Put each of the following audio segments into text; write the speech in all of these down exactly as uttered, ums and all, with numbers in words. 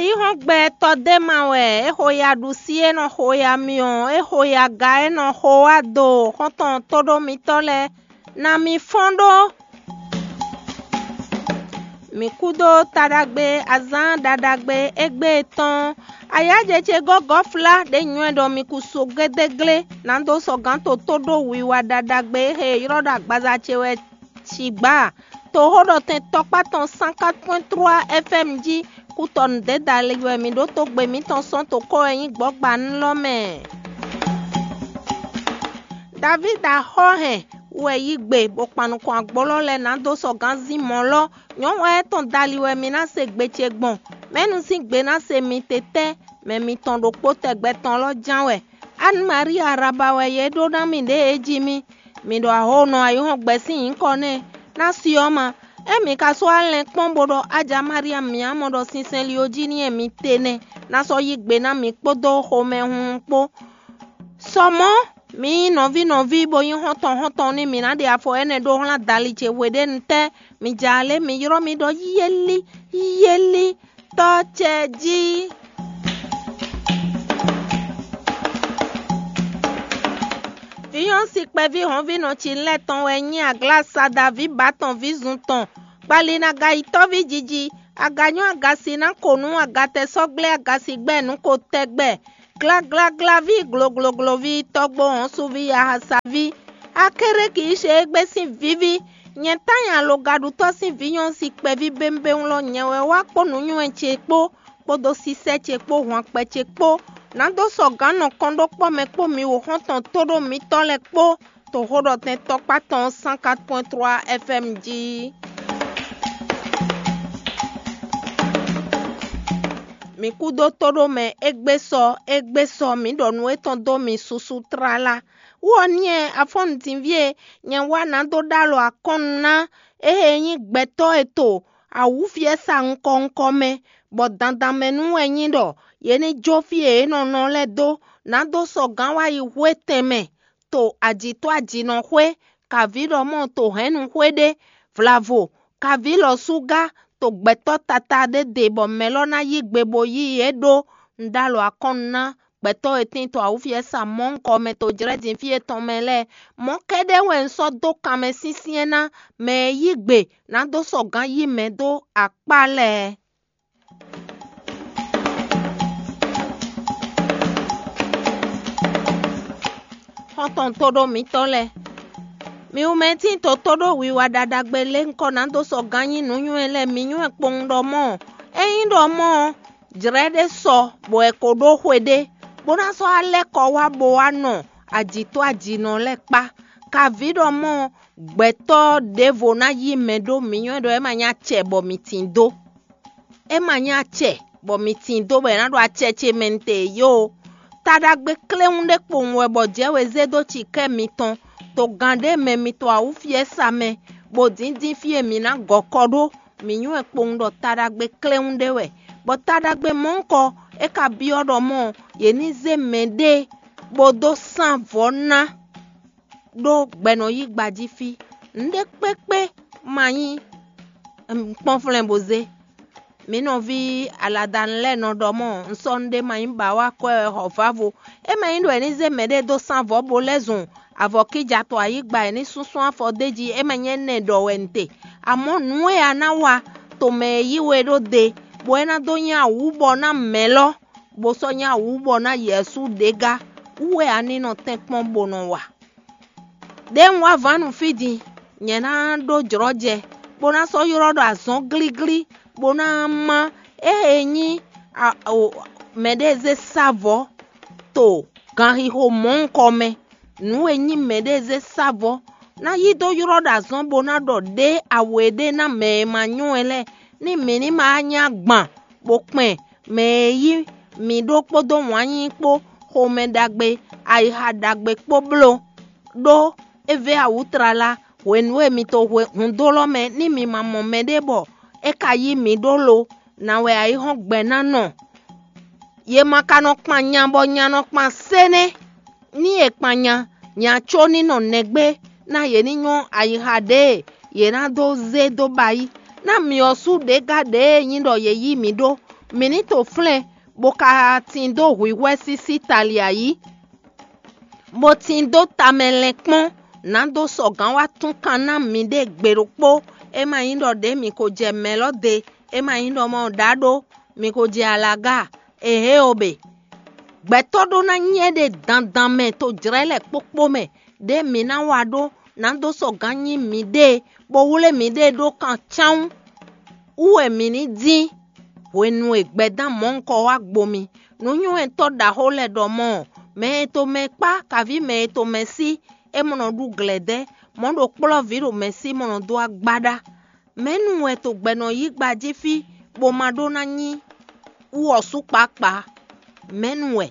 Yǐhɔ́ngbe tɔ́ d'é ma wɛ, é xo ya ɖu sí, é nɔ xo ya myɔ, é xo ya ga, é nɔ xo wá do xɔ́ntɔn tóɖómitɔ́ lɛ́ɛ. Ná mi fɔ́n ɖó. Mǐ kú dó taɖagbe azǎn ɖaɖagbe égbé tɔn. Ayǎjɛ ce gɔ́ gɔ́flá ɖě nywɛ́ ɖɔ mi kú so gédéglé, nǎ dó sɔgǎn to tó ɖó wiwa ɖaɖagbe e è ylɔ́ ɖɔ agbaza ce wɛ. Cǐgbá, toxóɖɔtɛn tɔkpá tɔn cent quatre point trois F M jí, kú tɔ nǔɖé dali wɛ mǐ ɖó tógbe mǐtɔn sɔ́ to kɔ́ wɛ nyí gbɔ̌gbanú lɔ mɛ. Davída xɔ hɛn wɛ yí gbe bó kpan nukɔn agbólɔ́ lɛ́ɛ ná dó sɔgǎn zín mɔ̌ lɔ́. Nyɔ̌nu étɔn dali wɛ mi ná se gbe ce gbɔn. Mɛ̌nu sín gbe ná se mi tɛtɛ́? Mɛ mitɔn ɖokpó tɛgbɛ tɔn lɔ́ ján wɛ. Anne Marie Araba wɛ yě ɖó ná mì ɖě e jí mì. Mi ɖo aho nɔ ayihɔ́ngbe sín nyǐkɔ nɛ́ ná si ɔ́ ma. Ée mi ka sɔ́ alɛn kpɔ́n bó ɖɔ ája Maria mǐ á mɔ ɖɔ sinsɛn li ó jí n'i wɛ mi te nɛ́, ná sɔ́ yí gbe ná mǐ kpódó xomɛhunhun kpó. Sɔ mɔ̌, mi nyí nɔví nɔví bó nyí xɔ́ntɔn xɔ́ntɔn nú mǐ ná ɖe afɔ énɛ́ ɖó xlán dali ce hweɖénu tɛ́. Mi ja alě, mi ylɔ́ mì ɖɔ yéli, yéli, Tɔ́ ce jí. Vǐ nyɔ́ si kpɛví hɔnvínɔ ce lɛ́ɛ tɔn wɛ nyí aglásada vǐ bǎ tɔn vǐ zun tɔn, kpali nú agayitɔ́ví jiji, aganyɔ́ agasi ná ko nú agatɛsɔ́gblé agasi gbɛ́ nǔ ko tɛgbɛ, glaglaglaví gloglogloví tɔ́gbó hɔnsuví yahasaví, Akéréki ṣe égbé sín víví, nyɛ Tanya Logaɖutɔ́ sín vǐ nyɔ́ si kpɛví bémbéwún lɔ nyɛ wɛ wá kpó nǔnywɛ́ ce kpó, kpódó sísɛ́ ce kpó hwankpɛ ce kpó, nǎ dó sɔ gǎn nɔ kɔn ɖó kpɔ́ mɛ kpó mi wo xɔ́ntɔn tóɖó mitɔ́ lɛ́ɛ kpó, to xó ɖɔ tɛn tɔkpá tɔn cent quatre point trois F M jí. Mǐ kúdó tóɖó mɛ égbé sɔ, égbé sɔ, mǐ ɖɔ nǔ étɔn dó mi susu tlala. Wú ɔ́ n'i wɛ afɔ́nǔdínví e nyɛ wá ná dó ɖó alɔ akɔ́nnu ná, ée nyí gbɛtɔ́ e to awǔfiɛ́sa ŋkɔ ŋkɔ mɛ, bɔ dandan mɛ nú wɛ nyí ɖɔ yě ní jó fí e yě nɔ nɔ lɛ́ɛ dó, ná dó sɔ gǎn wá yi hwetɛn mɛ, to ajǐtɔ́ ajǐnɔ xwé, kaví ɖɔ mɔ to hɛ̌nnu xwé ɖé, vlavo, kaví lɔ súgá, to gbɛtɔ́ tata ɖé ɖe bɔ mɛ lɔ ná yí gbe bó yí yě ɖó. Un ɖó alɔ akɔ́nnu ná gbɛtɔ́ e tín to awǔfiɛ́sa mɔ̌hunkɔ mɛ to jlɛ́ din fí etɔn mɛ lɛ́ɛ. Mɔ̌ kɛ́ɖɛ́ wɛ un sɔ́ dó kanmɛ syɛ́nsyɛ́n ná mɛ e yí gbe ná dó sɔ gǎn yí mɛ dó akpá lɛ́ɛ. Xɔ́ntɔn tóɖó mǐtɔn lɛ́ɛ, mi wú mɛ tíin to tóɖó wiwa ɖaɖagbe lé ŋkɔ ná dó sɔ gǎn nyí nǔnywɛ́ lɛ́ɛ mi nywɛ́ kpowun ɖɔ mɔ́ ɔ́. Ényí ɖɔ mɔ́ ɔ́, jlɛ̌ ɖé sɔ bɔ è ko ɖó xwe ɖé, bó ná sɔ́ alɛ́ kɔ wá bó wá nɔ ajǐtɔ́ ajǐnɔ lɛ́ɛ kpá. Kaví ɖɔ mɔ́ ɔ́, gbɛtɔ́ ɖěvo ná yí mɛ ɖó mi nywɛ́ ɖɔ é ma nyí acɛ bɔ mi tin dó. É ma nyí acɛ bɔ mi tin dó bɔ è nǎ ɖo acɛ ce mɛ nte yó. Ta ɖagbe kléwún ɖé kpowun wɛ bɔ jɛ̌ we zé dó cikɛ́ mitɔn, to gǎn ɖé mɛ mitɔn awǔfiɛ́sa mɛ, bó dǐndín fí e mǐ ná gɔ́ kɔ ɖó. Mǐ nywɛ́ kpowun ɖɔ ta ɖagbe kléwún ɖé wɛ, bɔ ta ɖagbe mɔ̌hunkɔ é ka byɔ́ ɖɔ mɔ́ yě ní zé mɛɖée bó dó sán vɔ̌ ná ɖó gbɛ nɔ yí gba jí fí. Nǔɖé kpékpé ma nyí kpɔ́nflɛ́n bó zé. Mǐ nɔví Aladanu lɛ́ɛ nɔ ɖɔ mɔ́, un sɔ́ nǔɖé ma nyí ba wá kwɛ́ wɛ xɔ vǎvo. É ma nyí ɖɔ è ní zé mɛɖée dó sán vɔ̌ bo lɛ́ zun avɔ̌kíjatɔ́ ayǐgba è ní súnsún afɔ d'é jí, é ma nyí énɛ́ ɖɔ wɛ un te. Amɔ̌ nǔ e a ná wa to mɛ e yí we ɖó de, bɔ é ná dó nyí awǔ bɔ ná mɛ̌ lɔ, bó sɔ́ nyí awǔ bɔ ná Yɛ̌su ɖě gá wú wɛ a ní nɔ tɛ́nkpɔ́n bó nɔ wa. Ɖěe un wá vǎn nu fí din, nyɛ ná ɖó jlɔ́jɛ, bó ná sɔ́ ylɔ́ ɖɔ azɔ̌ glíglí, bó ná má ée nyí mɛɖée zé sá vɔ̌ to ganxixo mɔ̌hunkɔ mɛ. Nǔ e nyí mɛɖée zé sá vɔ̌ ná yí dó ylɔ́ ɖo azɔ̌ bó ná ɖɔ ɖě awe ɖé ná mɛ e ma nyɔ́ ɛ lɛ́ɛ, ní mǐ ní ma wá nyí agban bó kpɛn mɛ e yí mǐ ɖó kpódó wǎn yíyí kpó, xomɛ ɖagbe, ayixa ɖagbe kpó bló. Ɖó é vɛ́ awǔ tlala hwenu e mi to hǔndó lɔ mɛ ní mi ma mɔ mɛɖé bɔ é ka yí mǐ ɖó lo, nǎ wɛ ayǐhɔ́ngbe ná nɔ. Yě ma ka nɔ kpan nya bɔ nya nɔ kpan sé nɛ́. Ní è kpan nya, nya có ní nɔ nɛgbé, ná yě ní nyɔ́ ayixa ɖě e yě ná dó zé dó ba yí. Ná myɔ sú ɖě gá ɖě e nyí ɖɔ yě yí mǐ ɖó, Mǐ ní to flɛ́n, bó ka tin dó hwǐhwɛ́ sísí tali ayǐ, bó tin dó tamɛ lɛn kpɔ́n, nǎ dó sɔgǎn wá tún kan ná miɖée gbe ɖokpó. É ma nyí ɖɔ ɖě mǐ ko jɛ mɛ̌ lɔ de, é ma nyí ɖɔ mɔ ɖǎ ɖó, mi ko jɛ alaga, ehe o bě. Gbɛtɔ́ ɖó ná nyí éɖée dandan mɛ to jlɛ̌ lɛ́ɛ kpókpó mɛ, ɖě mǐ ná wa ɖó ná dó sɔgǎn nyí miɖée, bó wlé miɖée ɖó kan cáwún wú wɛ mǐ ní dín. Hwenu e gbɛdán mɔ̌hunkɔ wá gbo mi, nǔnywɛ́tɔ́ ɖaxó lɛ́ɛ ɖɔ mɔ̌, mɛ e to mɛ kpá kaví mɛ e to mɛ sí, é mɔ nɔ ɖu glɛ̌dɛ́, mɔ̌ ɖo kplɔ́ vǐ ɖo mɛ sí mɔ nɔ dó agbaɖá. Mɛ̌nu wɛ to gbɛ nɔ yí gba jí fí, bó ma ɖó ná nyí wú ɔ́ sú kpǎkpǎ? Mɛ̌nu wɛ,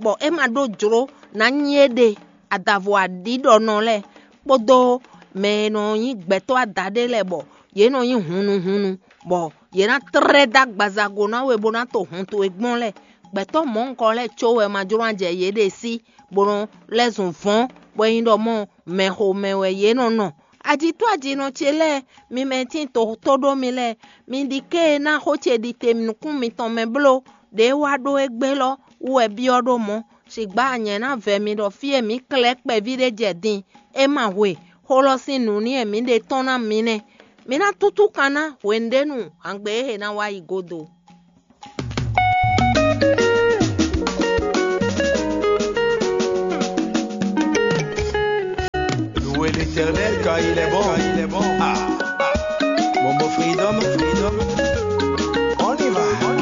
bɔ é ma ɖó jlǒ ná nyí éɖée adavo aɖǐɖɔnɔ lɛ́ɛ, kpódó mɛ e nɔ nyí gbɛtɔ́ adaɖé lɛ́ɛ, bɔ yě nɔ nyí hunnuhunnu, bɔ yě ná tlɛ́ dó agbazago ná we bó ná to hun towe gbɔn lɛ́ɛ. Gbɛtɔ́ mɔ̌hunkɔ lɛ́ɛ có wɛ ma jló ná jɛ yěɖée sí, bó nɔ lɛ́ zun vɔ̌n, bɔ é nyí ɖɔ mɔ mɛxomɛ wɛ yě nɔ nɔ. Ajitɔ́ ajinɔ ce lɛ́ɛ, mi mɛ e tín to tó ɖó mi lɛ́ɛ, mi ɖi ké e ná xó ce ɖi te nukún mitɔn mɛ bló, ɖě wá ɖó égbé lɔ wú wɛ byɔ́ ɖó mɔ̌. Sigbá nyɛ̌ ná vɛ mi ɖɔ fí e mǐ klɛ́ kpɛví ɖé jɛ din, é ma hwe, xó lɔ sín nǔ ní e mǐ ɖe tɔ́n ná mi nɛ́. Mi ná tútú kan ná hwenu ɖé nu hǎngbe e é ná wá yi gúdo. Louez l'Éternel car il est bon.